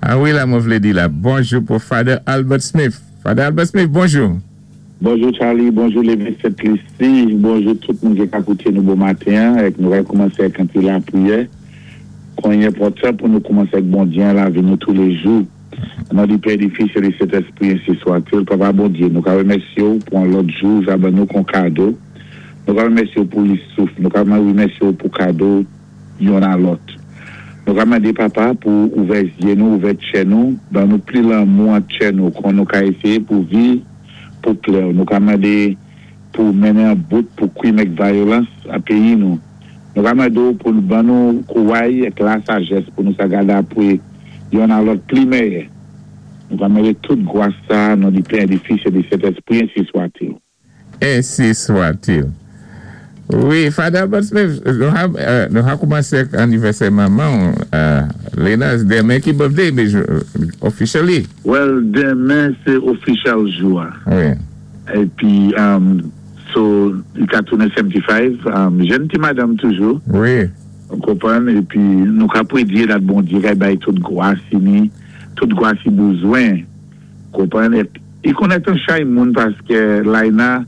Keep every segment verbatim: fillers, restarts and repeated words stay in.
Ah wi, la, mwen vlé di la. Bonjou pou Father Albert Smith. Father Albert Smith, bonjou. Bonjou Charlie, bonjou Lévesque Saint-Lucie, bonjou tout moun ki ka kouté nou bon maten, èk nou va koumansé ak an ti lapriyè. Kon i enpòtan pou nou koumansé ak Bondyé an lavi nou touléjou. An non di Pè, di Fis, é di Sentèspri, ensi swa-t-il. Papa Bondyé, nou ka wémèsyé ou pou an lòt jou, ja ban nou kon kado. Nou ka wémèsyé ou pou li souf, nou ka wémèsyé ou pou kado youn a lòt. Nou ka mandé papa pou ouvè zyé nou, ouvè tchè nou, ban nou pli lanmou an tchè nou, kon nou ka éséyé pou viv pou plè. Nou ka mandé pou mennen an bout pou kwim èk vyolans an péyi nou. Nou ka mandé ou pou ban nou kouway èk la sajès pou nou sa gada pou youn a lòt pli mèyè. Nou ka mandé tout gwas sa, non di Pè, di Fis, é di Sentèspri, ensi swa-t-il. Ensi swa-t-il. Wi, Father Albert Smith, nou ha, euh, nou ha koumansé anivèsè manman, euh, Lena, denmen ki birthday, mais officially. Well, denmen sé official jou. Wi. Épi, um, so, i ka tounen setannsenk, um, jèn ti madanm toujou. Wi. Ou konpwann, épi nou ka pwédyé dat Bondyé kay bay tout gwas i ni, tout gwas i bezwen. Konpwann, i konnèt an chay moun paské Laina,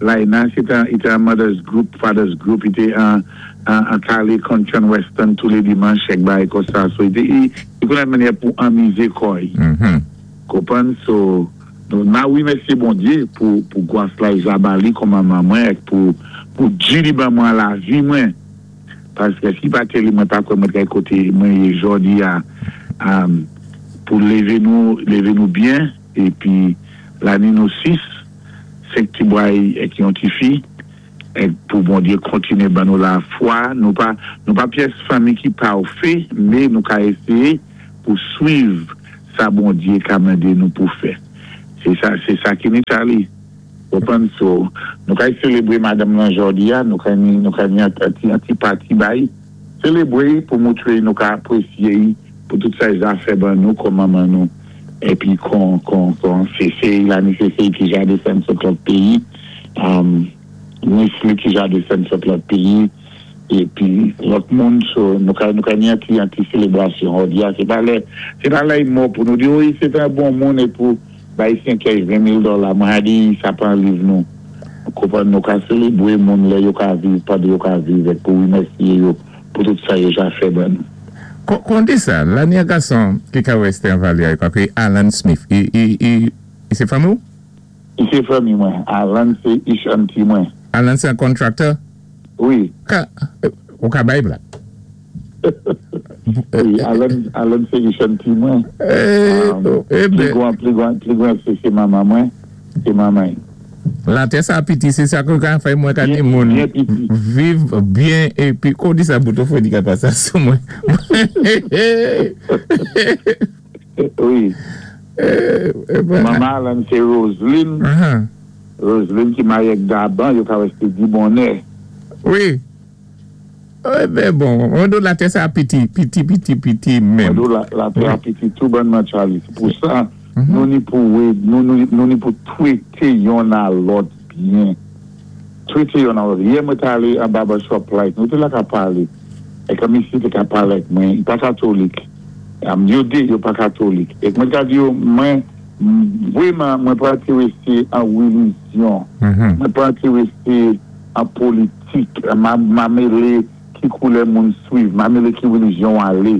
Laina, sé an, i té an mother's group, father's group, i té an, an, an kali Country Western toulé dimanch, èk bay kon sa, so i té, i, i konnèt mannyè pou anmizé kò'y. Mm-hmm. Konpwann, so, nou na wimèsyé Bondyé pou, pou gwas la i ja ba li kon manman mwen, èk pou, pou di li ban mwen lavi mwen. Paské si pa té li mwen pa kwè mwen kay koté mwen yé jòdi a, um, pou lévé nou, lévé nou byen, épi la ni nou sis, senk ti bway èk yon ti fi, èk pou Bondyé kontiné ban nou la fwa, nou pa, nou pa pyès fanmi ki pafè, mé nou ka éséyé pou swiv sa Bondyé ka mandé nou pou fè. Sé sa, sé sa ki ni Charlie. Konpwann, so, nou ka sélébré madanm lan jòdi a, nou ka ni, nou ka ni an ti, an ti party bay, sélébré pou moutré nou ka apwésyé pou tout sa ja fè ban nou kon manman nou. Épi kon, kon, kon, sé sé la ni sé sé ki ja desann sot lòt péyi, um, ni li ki ja desann sot lòt péyi, épi lòt moun, so, nou ka, nou ka ni an ti, an ti sélébrasyon. Jòdi a, sé pa lè, sé pa lè mò pou nou di, wi, sé an bon moun, é pou bay senk ven mil dola, mwen a di, sa pa an liv nou. Konpwann, nou ka sélébré moun lè yo ka viv, pa de yo ka viv, èk pou wimèsyé yo, pou tout sa yo ja fè ban nou. Kon di sa, la ni an gason ki ka Western Valley, kwa ki Alan Smith, i, i, i, i sé fanmi ou? I sé fanmi mwen. Alan sé ich auntie mwen. Alan sé an contractor? Wi. Ka, ou ka bay blag? Wi, Alan, Alan sé ich auntie mwen. Eh, eh Pli ben, gwan, pli gwan, pli gwan sé sé manman mwen, sé manman. La tè sa piti, sé sa kon ka fè mwen ka di Byen, moun byen piti. Viv byen, épi kon di sa bouton fò di ka pa sa sou mwen. Wi. Eh, eh ben, Manman Alan sé Roseline. uh-huh. Roseline ki maryé ak Daban, yo ka wè di bonè. Wi. Eh ben bon, on do la tè sa piti, piti, piti, piti menm. Mwen do la, la tè a piti tou bonman Charlie. C'est pou sa, nou ni pou wé, nou, nou, nou ni pou twété youn a lòt byen. Twété youn a lòt. Yè mwen ta alé an barbershop like, nou té la ka palé. É kòm isi te ka palé ak mwen, i pa katolik. Am yo dé, yo pa katolik. Èk mwen ka di yo, mwen, vwéman, mwen pa entéwésé an wilijyon. Mhm. Mwen pa entéwésé an politik. Ma, ma mélé ki koulè moun swiv, ma mélé ki wilijyon alé.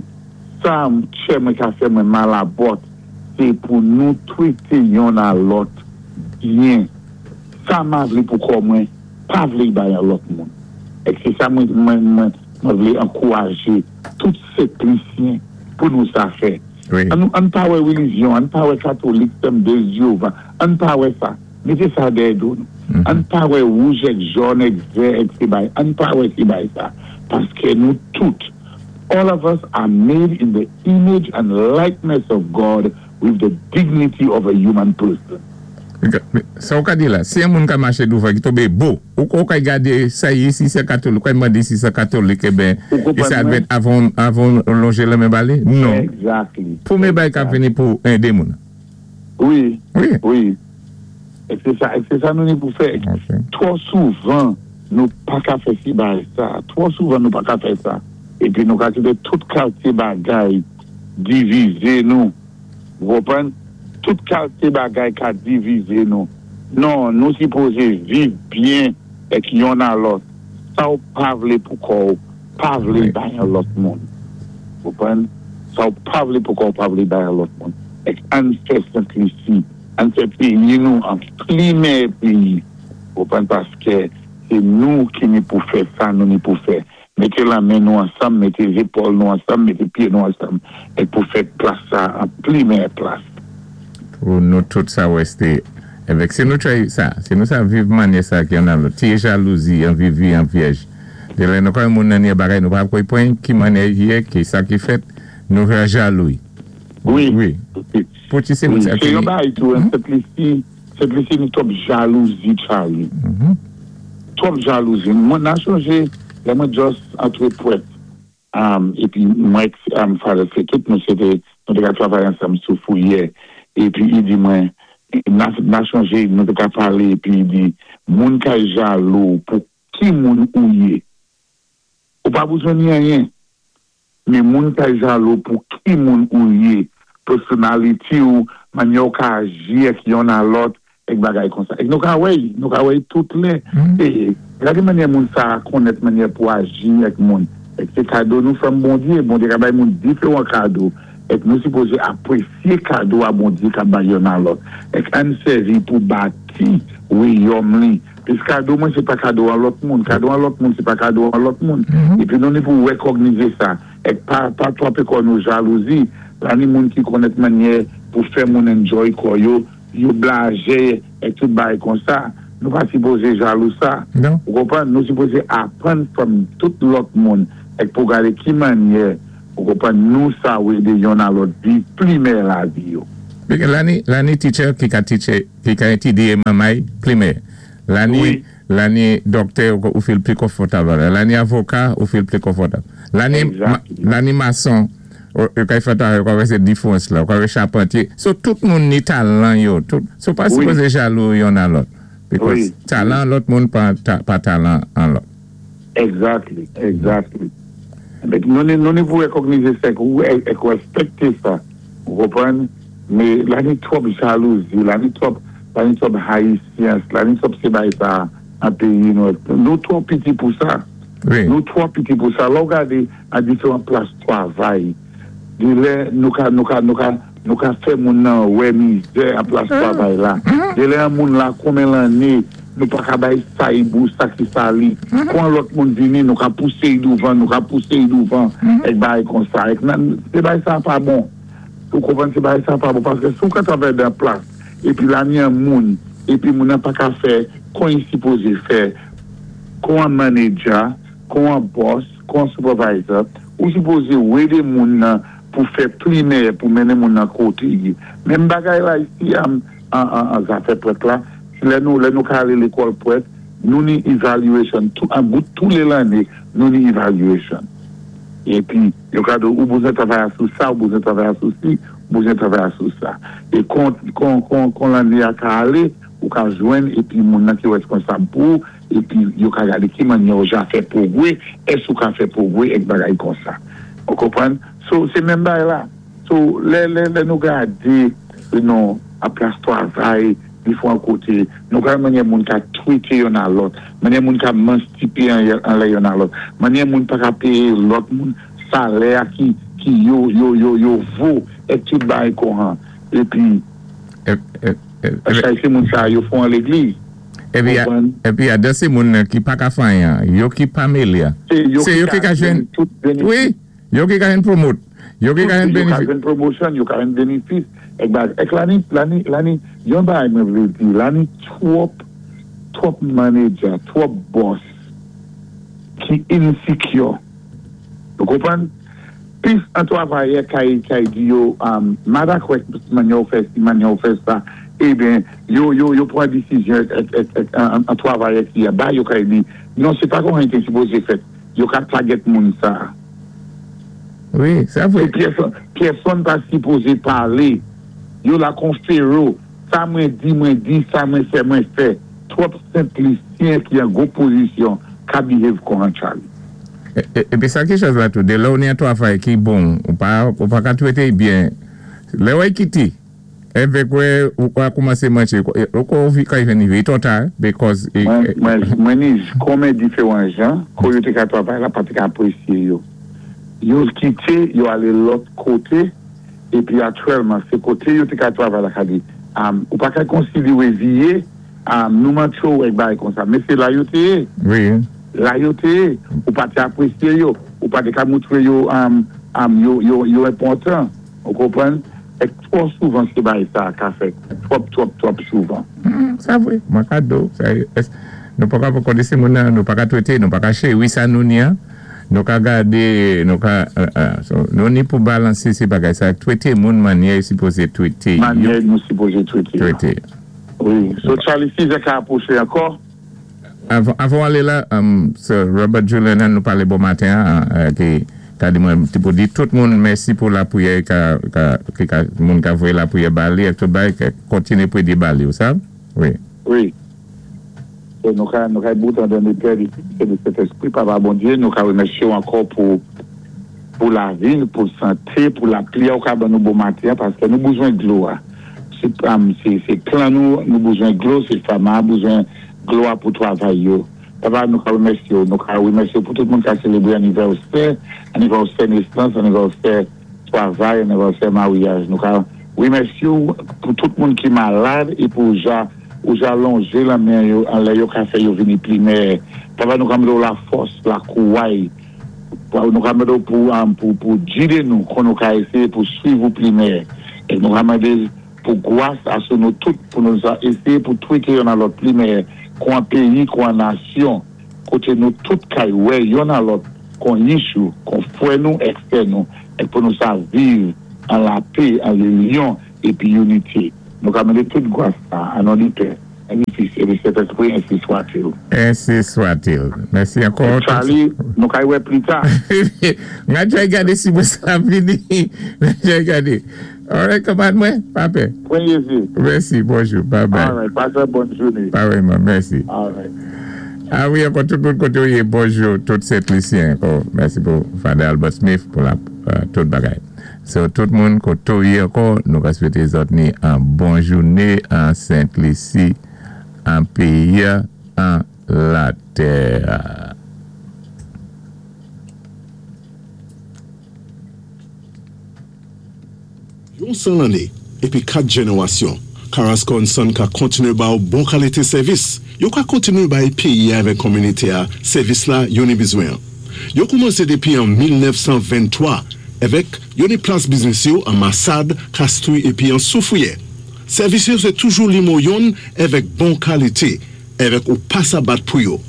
Sa, tchè mwen ka fè mwen malabòt, sé pou nou twété youn a lòt byen. Sa ma vlé pou kò mwen, pa vlé bay an lòt moun. Èk sé sa mwen, mwen, mwen, mwen vlé ankourajé tout Sent-Lisyen pou nou sa fè. Wi. An nou, an pa wè wilijyon, an pa wè katolik, Temwen dé Jewova, an pa wè sa. Mété sa dèyè do nou. An pa wè wouj èk jòn èk vè èk sé bay. An pa wè sé bay sa. Paské nou tout, all of us are made in the image and likeness of God with the dignity of a human person. Sa ou ka di la, si yon moun ka maché douvan ki tonbé bo, ou ou ka gade sa yi si sé katolik, ou ka mande si sé katolik, eh ben, Ou konpwann e sa mwen? dwèt avan, avan lonjé la men ba li? Non. Exactly. Pou mé bay ka vini pou édé moun. Wi, Wi. wi. Èk sé sa, èk sé sa nou ni pou fè. Ok. Twò souvan, nou pa ka fè si bay sa. Twò souvan nou pa ka fè sa. Épi nou ka kité tout kalté bagay divizé nou. Ou konpwann? Tout kalité bagay ka divizé nou. Non, nou sipozé viv byen èk yonn a lòt. Sa ou pa vlé pou kò ou, pa vlé Wi. Bay an lòt moun. Ou konpwann? Sa ou pa vlé pou kò ou, pa vlé bay an lòt moun. Èk ann fè Sent-Lisi, ann fè péyi nou, an pli mèyè péyi. Ou konpwann? Paské sé nou ki ni pou fè sa, nou ni pou fè. Mété lamen nou ansanm, mété zépòl nou ansanm, mété pyé nou ansanm, èk pou fè plas sa an pli mèyè plas. Pou nou tout sa wèsté. Èvèk si nou try sa, si nou sa viv manyè sa ki an lòt, ti jalouzi, an viv vi an vyèj. Dé lè nou kwè moun nan ni bagay, nou pa kwè pwen ki manyè yé, ki sa ki fèt, nou vè jalou. Wi. Wi. Pou ti sé moun Wi, sa sé ki yon bagay tou, an Sent-Lisi, Sent-Lisi nou twòp jalouzi, Charlie. Mhm. Twòp jalouzi. Mwen nan chonjé, lè mwen just antré pwèt. Um, épi mwen, um, Father fè tout nou sé nou té ka travay ansanm sou Fouyè. Épi i di mwen, nan, nan chonjé, nou té ka palé, épi i di, moun ka jalou pou ki moun ou yé. Ou pa bezwen ni anyen. Men moun ka jalou pou ki moun ou yé. Personality ou, manyè ou ka aji ak yonn a lòt, èk bagay konsa. Èk nou ka wè, nou ka wè tout lè. Mm. É, gade manyè moun sa konnèt manyè pou aji ak moun. Èk sé kado nou fè Bondyé, Bondyé ka bay moun diferan kado. Èk nou sipozé apwésyé kado a Bondyé ka bay yonn a lòt. Èk ann sèvi pou bati wayòm li. Pis kado mwen sé pa kado an lòt moun, kado an lòt moun sé pa kado an lòt moun. Mhm. Épi nou ni pou wékògnizé sa. Èk pa, pa twòpé kò nou jalouzi. La ni moun ki konnèt manyè pou fè moun enjoy kò yo, yo blajé èk tout bagay konsa. Nou pa sipozé jalou sa. Non. Ou konpwann? Nou sipozé aprann from tout lòt moun èk pou gadé ki manyè, ou konpwann, nou sa édé yonn a lòt viv pli mèyè lavi yo. La ni, la ni teacher ki ka teacher, ki ka étudié mamay pli mèyè. La ni, Wi. La ni dòktè ou, ou feel pli konfòtab. La ni avoka ou feel pli konfòtab. La ni, Exactly. ma, la ni mason, ou, ou ka fè ta, ou ka wè sé difwans la, ou ka wè chapantye. So tout moun ni talan yo. Tout, so pa Wi. Sipozé jalou yonn a lòt. Because Wi. Talan lòt moun pa, ta, pa talan an lòt. Exactly, exactly. Èk nou ni, nou ni pou wékògnizé sa, ou èk wéspékté sa. Ou konpwann? Mé la ni twòp jalouzi, la ni twòp, la ni twòp haïtiens, la ni twòp sé bagay sa an péyi nou. Nou twò piti pou sa. Wi. Nou twò piti pou sa. Lè ou gadé a diferan plas twavay. Di lè nou ka, nou ka, nou ka, nou ka fè moun nan wè mizè an plas twavay la. Di lè an moun la konmen lanné, nou pa ka bay sa i bou, sa ki sa li. Kon lòt moun vini, nou ka pousé i douvan, nou ka pousé i douvan, èk bagay konsa. Èk nan, sé bagay sa pa bon. Ou konpwann, sé bagay sa pa bon. Paské si ou ka travay dan plas, épi la ni an moun, épi moun nan pa ka fè, kon i sipozé fè, kon an manager, kon an boss, kon an supervisor, ou sipozé édé moun nan pou fè pli mèyè, pou mennen moun nan koté yi. Menm bagay la isi, an, an, an, an zafè pwèt la, lè nou, lè nou ka alé lékòl pwèt, nou ni evaluation, tout, an bout tou lé lanné, nou ni evaluation. Épi, yo ka di ou bezwen travay sou sa, ou bezwen travay sou si, ou bezwen travay sou sa. É kon, kon, kon, kon lanné a ka alé, ou ka jwenn, épi moun nan ki wéskonsab pou, épi yo ka gadé ki manyè ou ja fè pwogwé, ès ou ka fè pwogwé, èk bagay konsa. Ou konpwann? So, sé menm bagay la. So, lè, lè, lè nou gadé, nou, a plas twavay, diferan koté, nou ka manyè moun ka twité yonn a lòt, manyè moun ka manstipé an, an lè yonn a lòt, manyè moun pa ka péyé lòt moun salè a ki, ki yo, yo, yo, yo vo, èk tout bagay konhan. Épi, É, é, é, paské sé moun sa yo fon an légliz. Épi, Konpwann? Épi a de sé moun ki pa ka fè anyen, yo ki pa mélé a. Sé yo Sé yo ki ka jwenn, tout bénifis. Wi, yo ki ka jwenn promote, yo ki ka jwenn Yo ka bénifis. Jwenn promotion, yo ka jwenn bénifis. Èk bagay, èk la ni, la ni, la ni, yon bagay mwen vlé di, la ni twòp, twòp manager, twòp boss ki insecure. Ou konpwann? Pis an twavayè kay, kay di yo, um, ma dakò manyè ou fè si, manyè ou fè sa, eben, yo, yo, yo pran disizyon èk, èk, èk, an, an twavayè ki a ba, yo kay di, non, sé pa kon té sipozé fèt, yo ka target moun sa. Wi, sa vwé. Pyèsonn, pyèsonn pa sipozé palé. Yo la kon Fero. Sa mwen di, mwen di, sa mwen fè, mwen fè. Twòp Sent-Lisyen ki an gwo pozisyon ka behave kon an Charlie. Épi sa ki chòz la tou, dé lè ou ni an twavay ki bon, ou pa, ou pa ka twété byen, lè ou kité, Évèk wè, ou ka koumansé manché, ou ka vi ka vin rivé twò ta, because Mwen, mwen, mwen ni konmen diféwan jan, kou yo té ka twavay la, pa té ka apwésyé yo. Yo kité, yo alé lòt koté, épi aktyèlman, sé koté yo té ka twavay la ka di, um, ou pa ka konsidéwé vyé, um, nou mantché ou èk bagay kon sa, men sé la yo té yé. Wi. La yo té yé, ou pa té apwésyé yo, ou pa té ka moutré yo, um, um, yo, yo, yo enpòtan, ou konpwann? Èk twò souvan sé bagay sa ka fèt. Twòp, twòp, twòp souvan. Mm, sa vwé, mwen ka do. Sa, es, nou pa ka pou kondé moun nan, nou pa ka twété, nou pa ka chéwi sa nou ni an. Nou ka gadé, nou ka, uh, uh, so, nou ni pou balansé sé bagay sa, twété moun mannyè sipozé twété. Mannyè nou sipozé twété. Twété. Wi. So Charlie, si zè ka apwoché ankò? Avan, avan alé la, um, Sir Robert Julian nou palé bon maten, uh, ki ka di mwen, ti pou di tout moun mèsi pou lapwiyè ka, ka, ki ka, moun ka voyé lapwiyè ba li, èk tout bagay, ka kontiné pou di ba li, ou sav? Wi. Wi. So, nou ka, nou ka bout an don Pè, di Fis é di Sentespwi, Papa Bondyé, nou ka wémèsyé ou ankò pou pou lavi, pou santé, pou lapli ou ka ban nou bon maten, paské nou bezwen dlo a. Sé, um, sé, sé plan nou, nou bezwen dlo, sé fama, bezwen dlo a pou twavay yo. Papa, nou ka wémèsyé ou, nou ka wémèsyé ou pou tout moun ka sélébré anivèsè, anivèsè nésans, anivèsè twavay, anivèsè maryaj. Nou ka wémèsyé ou pou tout moun ki malad é pou ja, ou ja lonjé lamen yo, anlè yo ka fè yo vini pli meyè. Papa, nou ka mandé ou lafòs, lakouway, nou ka mandé ou pou, um, pou, pou gidé nou, kon nou ka ésyé pou swiv ou pli meyè. É nou ka mandé pou gwas a sou nou tout, pou nou sa ésyé pou twété youn a lòt pli meyè, kon an péyi, kon an nasyon, koté nou tout kay wè youn a lòt, kon yichou, kon fwè nou, èk sè nou, èk pou nou sa viv an lapè, an linyon, épi inité. Nou ka mandé tout gwas sa, an non di Pè, an di Fis, é di Sentespwi, ensi swa-t-il. Ensi swa-t-il. Mèsi ankò. Charlie, nou kay wè pli ta. Nga jay gade si mwen sa vini. Nga jay gade. Alright, kanmad mwen, pa pè. Pwen Jésus. Mèsi, bonjou, bye bye. Alright, pasé bòn jouné. Parèyman, mèsi. Alright. A wi, ankò tout moun koté ou yé, bonjou, tout Sent Lisyen ankò. Mèsi pou Father Albert Smith pou la, uh, tout bagay. So, tout moun koté ou yé ankò, nou ka swété zòt ni an bon jouné an Sent Lisi, an péyi, an latè. Yon san lanné, épi kat jénéwasyon, Carrasco and Son ka kontiné ba ou bon kalité sèvis. Yo ka kontiné bay péyi avèk kominité a sèvis la yo ni bezwen. Yo koumansé dépi an mil nèf san venntwa, avèk yo ni plas biznis yo an Massade, Castries épi an Soufrière. Sèvis yo sé toujou nimo youn avèk bon kalité, avèk ou pa sa bat pou yo.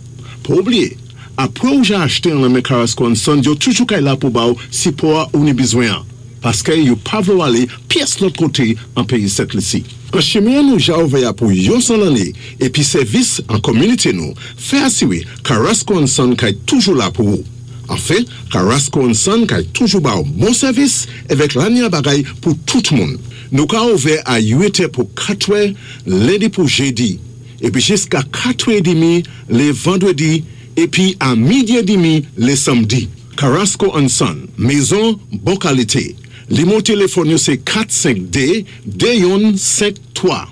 Pa oubliyé, apwé ou ja achté an lanmen Carrasco and Son, yo toujou kay la pou ba ou sipò a ou ni bezwen an. Paské yo pa vlé ou alé pyès lòt koté an péyi Sent Lisi. An chimen nou ja ouvè a pou yon san lanné, épi sèvis an kominité nou, fè asiwé Carrasco and Son kay toujou la pou ou. Anfen, Carrasco and Son kay toujou ba ou bon sèvis avèk lanya bagay pou tout moun. Nou ka ouvè a uit è pou katwè, lendi pou jédi, épi jiska katwè édmi lé vandwédi, épi a midi édmi lé samdi. Carrasco and Son, mézon bon kalité. Nimo téléfòn yo sé kat senk dé, dé youn senk twa.